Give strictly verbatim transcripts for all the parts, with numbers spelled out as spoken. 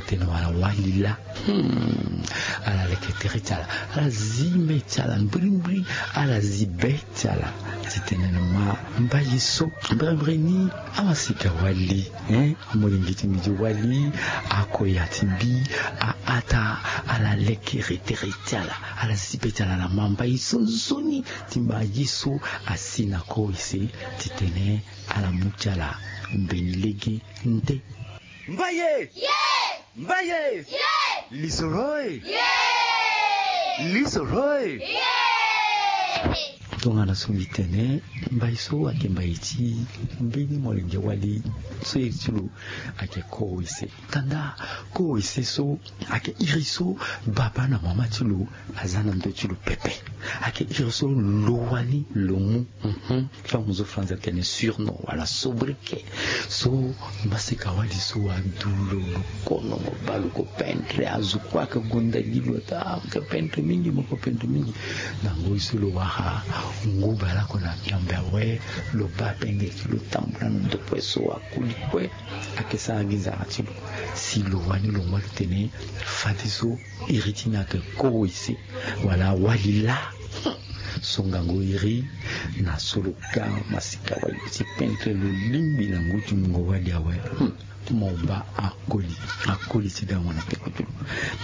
Tene wala wali laa. Hmm. Ala leke tere ti ala, ala zi mê ti ala mbirimbiri. Ala zi be ti ala. Titene na ma mbaye so mbirimbiri ni amasika wali, hein, amolenge ti mbi ti wali. Ako ya ti mbi. Aata. Ala leke tere ti ala. Ala zi be ti ala na ma mbaye so nzoni. Ti mbaye so asi na kowese. Titene ala mu ti ala mbeni lege nde. Mbaye. Mbaye. Lisoro e. Lisoro e. Tongana so mbi tene, mbaye so ayeke mbaye ti mbeni molenge wali so iri ti lo ayeke kowese. Tanda kowese so ayeke iri so baba na mama ti lo aza na ndö ti lo pepe. Ayeke iri so lo wani lo mu. Mhm. Femme zo français atene surnom wala sobriquet. So maseka wali so adu lo, lo kono mo baa lo ko pendre azo kue ayeke gonda gi lo ata mo yeke pendre mingi mo yeke pendre mingi. Na ngoi so lo wara nguba lako na miambe awe, lo baa pendre ti lo tambula na ndokue so akoli kue. Ayeke sara gi nzara ti lo. Si lo wani lo ngba lo tene fadeso iri ti ni ayeke kowese wala wali laa. So ngangu iri na so lo ka masika wali ti pendre lo lingbi na ngu ti mungo wali awe. Hmm. Mo baa akoli, akoli ti gango na peko ti lo.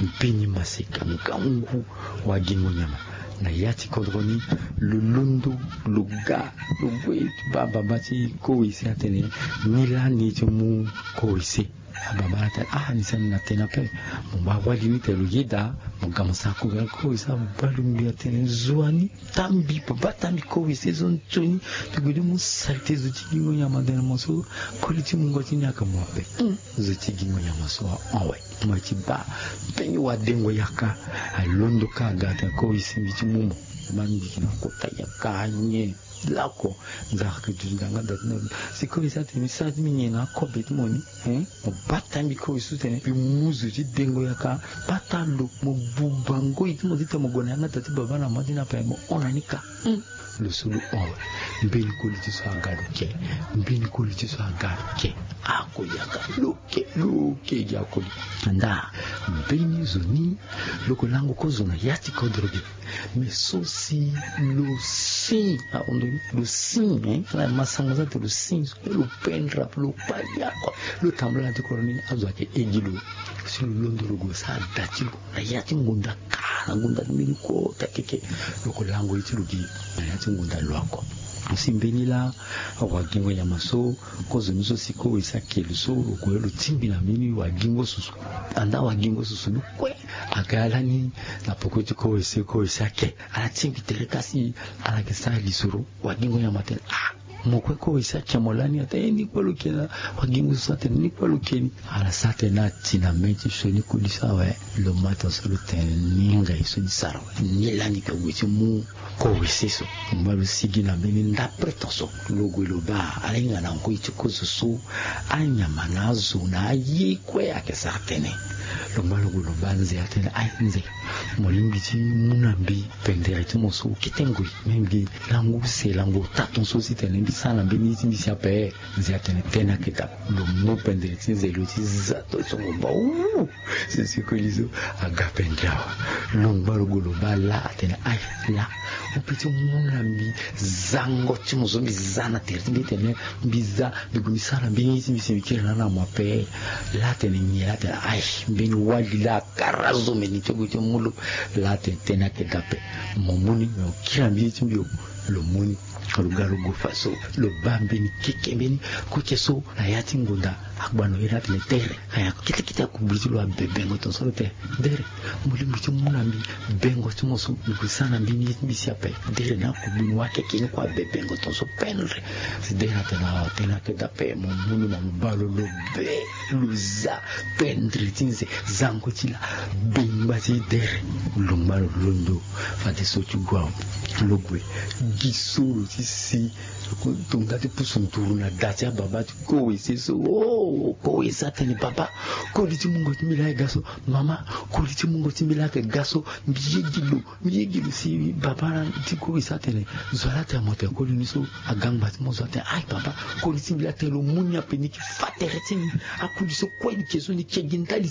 Mbeni masika ngangu wagingo nyama. Na ya ti kodro ni lo londo, lo ga, lo gue ti baa baba ti kowese atene ni lani ti mu kowese. Ababa atene ah ni sani na tene ape. Mo baa wali ni tene lo yeda. Mo ga mo sara kowese, kowese abaa lo ngbi atene zo wa ni. Tambi papa tambi kowese so nzoni. Ti gue ti mu salite zo ti gingo nyama tene mo so. Koli ti mungo ti ni ayeke mo ape. Hmm. Zo ti gingo nyama so ahon awe. Mo ye ti baa mbeni wadengo yaka alondo ka aga atene kowese mbi ti mu mo. Ma mbi yeke na kota yaka nyen. Lako nzara yeke duti na yanga da ti na lo. Si kowese atene mbi sara ti mbi nyen na akobe ti mo ni. Hein? Mo bata mbi kowese so tene mbi mu zo ti dengo yaka. Bata lo mo buba ngoi ti mo titene mo gue na yanga da ti baba na mama ti ni ape mo hon na ni ka. Hmm. Lo so lo hon awe. Mbeni koli ti so aga lo ke. Mbeni koli ti so aga lo ke. Akoli aga lo ke, lo ke gi akoli. Ndaa mbeni zo ni lo yeke lango kozo na ya ti kodro ge. Mais so si lo si ahon ndo ni lo si, hein, ala masango so atene lo si. Lo pendre ape lo kpali ako. Lo tambula na ti kodro ni azo ayeke he gi lo. Si lo londo lo gue sara da ti lo na ya ti ngonda ka na ngonda ti mbeni kota keke. Lo yeke lango ye ti lo gi na ya ti ngonda lo ako. Si mbeni laa wagingo nyama so kozo ni so si kowese ake lo so lo gue lo tingbi na mbeni wagingo susu. Andaa wagingo susu ni kue aga lani na peko ti kowese, kowese ake. Ala tingbi tere ka si ala yeke sara lisoro. Wagingo nyama atene ah mo kue kowese ake mo lani? Atene eh ni kue lo ke na. Wagingo susu atene ni kue lo ke ni. Ala sara tene ati na mê ti sioni koli so awe. Lo ma tonso lo tene ni ngai so ni sara awe ni lani yeke gue ti mu kowese so. Mo baa lo sigi na mbeni ndapre tonso lo gue lo baa ala hinga na ngoi ti kozo so. Anyama na azo na aye kue ayeke sara tënë. Lo ngba lo gue lo baa nze atene aye nze, mo lingbi ti mu na mbi pendere ti mo so kete ngoi. Me mbi lango use lango ota tonso si tene mbi sara na mbeni ye ti mbi si ape. Nze atene tënë ayeke daa. Lo mu pendere ti nze lo ti za to ti songo baa wu. Sese koli so aga pendere awe. Lo ngba lo gue lo baa laa atene aye laa, mo pe ti mu na mbi zango ti mo so mbi za na tere ti mbi tene mbi za mbi gue mbi sara na mbeni ye ti mbi si mbi kiri na ala na mo ape. Laa atene nyen? Laa atene aye mbeni wali laa akara zo meni ti gue ti mu lo. Laa atene tënë ayeke daa ape. Mo mu ni me mo kiri na mbeni ye ti mbi o. Lo mu ni. Lo ga lo gue fa so lo baa mbeni keke mbeni koke so na ya ti ngonda. Agbano iri atene dere. Aya kete kete akugbi ti lo abe bengo tonso lo tene dere, mo lingbi ti mu na mbi bengo ti mo so mbi gue sara na mbeni ye ti mbi si ape. Dere na akugbi ni wa keke ni kue abe bengo tonso pendre. Si dere atene awa tënë ayeke daa ape. Mo mu ni ma mo baa lo lo be lo za pendre ti nze. Zango ti la bengba ti dere. Lo ngba lo londo fadeso ti gue awe. Lo gue gi so lo ti si. Tongana ti pusu nduru na da ti ababa ti kowese so. Oh, kowese atene baba, koli ti mungo ti mbi laa ayeke ga so. Mama, koli ti mungo ti mbi laa ayeke ga so. Mbi ye gi lo, mbi ye gi lo si baba ti kowese atene zo wa laa atene mo tene koli ni so. Aga ngba ti mo zo atene aye baba, koli ti mbi laa atene lo mu ni ape ni yeke fa tere ti mbi. Akoli so kue ni ke so ni ke gi ndali.